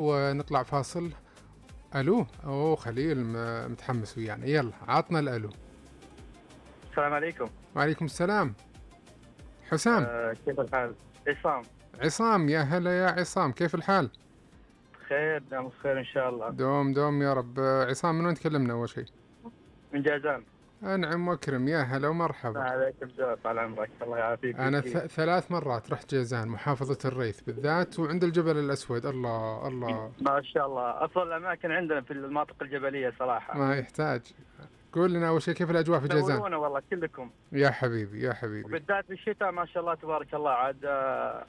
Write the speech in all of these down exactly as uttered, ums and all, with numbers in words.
ونطلع فاصل. ألو، أوه خليل م- متحمس ويانا، يلا عطنا الألو. السلام عليكم. وعليكم السلام. حسام. آه كيف الحال؟ عصام. عصام، يا هلا يا عصام، كيف الحال؟ خير، نعم بخير إن شاء الله. دوم دوم يا رب. عصام من وين تكلمنا أول شيء؟ من جازان. أنعم وأكرم، يا هلا ومرحبا. عليكم السلام، طال عمرك، الله يعافيك أنا ث- ويشفيك. ثلاث مرات رحت جيزان، محافظة الريث بالذات، وعند الجبل الأسود. الله الله. ما شاء الله، أفضل الأماكن عندنا في المناطق الجبلية صراحة. ما يحتاج. قول لنا أول شيء كيف الأجواء في جيزان؟ تنورونا والله كلكم، يا حبيبي يا حبيبي. وبالذات في الشتاء ما شاء الله تبارك الله، عاد آه،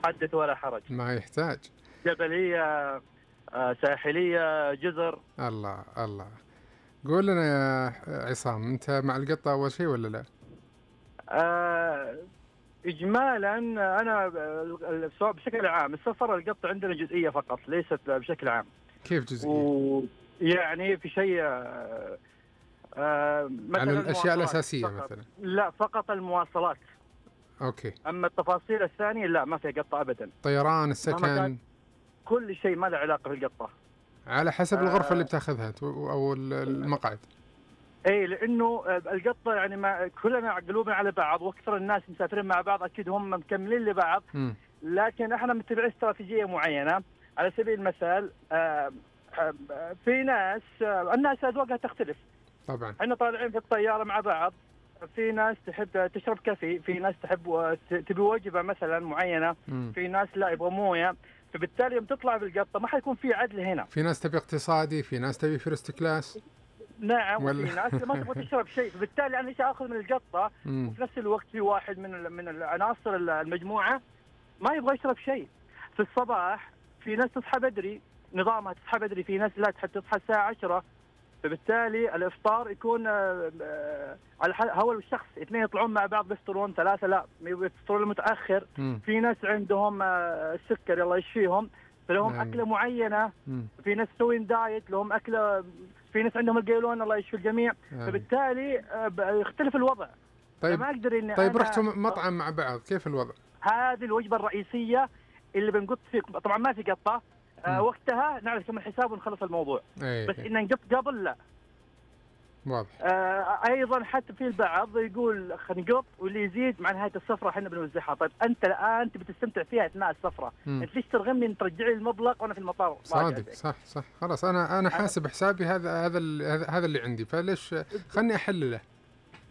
حدث ولا حرج. ما يحتاج. جبلية، آه، ساحلية، جزر. الله الله. قول لنا يا عصام، أنت مع القطة أول شيء ولا لا؟ آه، إجمالا أنا السؤال بشكل عام، السفر القط عندنا جزئية فقط، ليست بشكل عام. كيف جزئية؟ ويعني في شيء آه، آه، مثلا على الأشياء المواصلات الأساسية فقط. مثلا. لا، فقط المواصلات. أوكي. أما التفاصيل الثانية لا، ما فيها قطة أبدا. طيران، مهما السكن. كان كل شيء ما له علاقة بالقطة. على حسب الغرفة اللي آه بتاخذها تو- أو ال- المقعد. اي، لانه آه، القطه يعني ما كلنا قلوبنا على بعض، واكثر الناس مسافرين مع بعض اكيد هم مكملين لبعض. مم. لكن احنا متبعين استراتيجيه معينه. على سبيل المثال آه، آه، في ناس، آه، الناس اذواقها تختلف. طبعا. احنا طالعين في الطياره مع بعض، في ناس تحب تشرب كافي، في ناس تحب و- تبي وجبه مثلا معينه، مم. في ناس لا يبغى مويه. فبالتالي يوم تطلع بالقطه ما حيكون في عدل هنا. في ناس تبي اقتصادي، في ناس تبي فيرست كلاس. نعم، ولا- وفي ناس ما تبغى تشرب شيء. فبالتالي انا ايش اخذ من القطه، مم. وفي نفس الوقت في واحد من ال- من العناصر ال- المجموعه ما يبغى يشرب شيء. في الصباح في ناس تصحى بدري، نظامها تصحى بدري، في ناس لا تحب تصحى الساعه عشرة. فبالتالي الافطار يكون آه، آه، على ح- هو الشخص، اثنين يطلعون مع بعض بيفطرون، ثلاثه لا يفطرون متاخر. مم. في ناس عندهم آه، السكر الله يشفيهم، فلهم نعم. اكله معينه. مم. في ناس مسوين دايت لهم اكله، في ناس عندهم القيلون الله يشفي الجميع. آمين. فبالتالي آه، ب- يختلف الوضع. طيب. ما اقدر اني طيب أنا رحتوا مطعم مع بعض، كيف الوضع؟ هذه الوجبه الرئيسيه اللي بنقط فيه. طبعا ما في قطه آه، مم. وقتها نعرف كم الحساب ونخلص الموضوع. ايه بس إيه. ان نقط قبل لا. واضح. آه، ايضا حتى في البعض يقول خلينا نقط واللي يزيد مع نهايه السفره احنا بنوزعها. طيب انت الان تبي تستمتع فيها اثناء السفره، مم. انت ليش ترغمني ان ترجع لي المبلغ وانا في المطار راجع صادق، زيك؟ صح صح. خلاص انا انا حاسب حسابي، هذا هذا ال- هذا هذا اللي عندي، فليش خلني احلله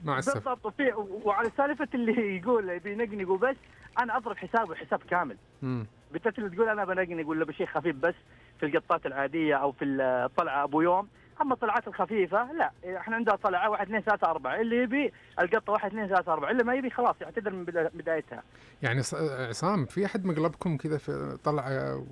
مع السفر. بالضبط. وفي وعلى سالفه اللي يقول يبي ينقنق وبس، انا اضرب حسابه حساب كامل. مم. بالذات اللي تقول انا بنقنق ولا بشيء خفيف بس في القطات العاديه او في الطلعه ابو يوم. اما الطلعات الخفيفه لا، احنا عندنا طلعه واحد اثنين ثلاثه اربعه، اللي يبي القطه واحد اثنين ثلاثه اربعه، اللي ما يبي خلاص يعتذر من بدا- بدايتها. يعني ص- عصام، في احد مقلبكم كذا في طلعه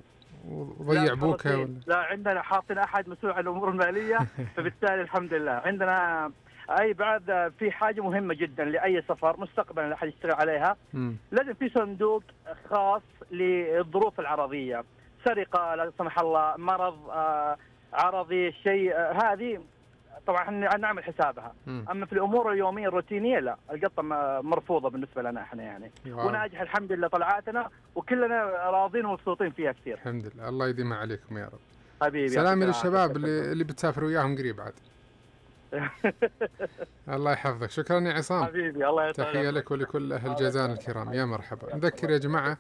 وضيع لا بوكه خلاص، ولا؟ لا عندنا حاطين احد مسؤول عن الامور الماليه. فبالتالي الحمد لله عندنا. اي بعد في حاجه مهمه جدا لاي سفر مستقبلا اللي احد يشتغل عليها، مم. لازم في صندوق خاص للظروف العرضيه، سرقه لا سمح الله، مرض آه، عرضي، شيء آه، هذه طبعا احنا نعمل حسابها. مم. اما في الامور اليوميه الروتينيه لا، القطه م- مرفوضه بالنسبه لنا احنا يعني. واو. وناجح الحمد لله طلعاتنا، وكلنا راضين ومبسوطين فيها كثير. الحمد لله، الله يديمها عليكم يا رب. حبيبي، سلامي يعطيك للشباب العافية. اللي اللي بتسافر وياهم قريب عاد. الله يحفظك، شكرا يا عصام. حبيبي، الله يطول تحية عمرك. لك ولكل أهل جازان الكرام، يا مرحبا. نذكر يا جماعة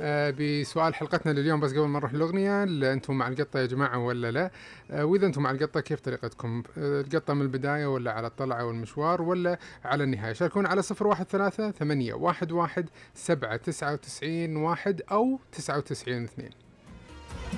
آه، بسؤال حلقتنا لليوم، بس قبل ما نروح الأغنية، ل- أنتم مع القطة يا جماعة ولا لا؟ آه، وإذا أنتم مع القطة كيف طريقتكم؟ آه، القطة من البداية ولا على الطلعة والمشوار ولا على النهاية؟ شاركونا على صفر واحد ثلاثة ثمانية واحد واحد سبعة تسعة وتسعين واحد أو تسعة وتسعين اثنين.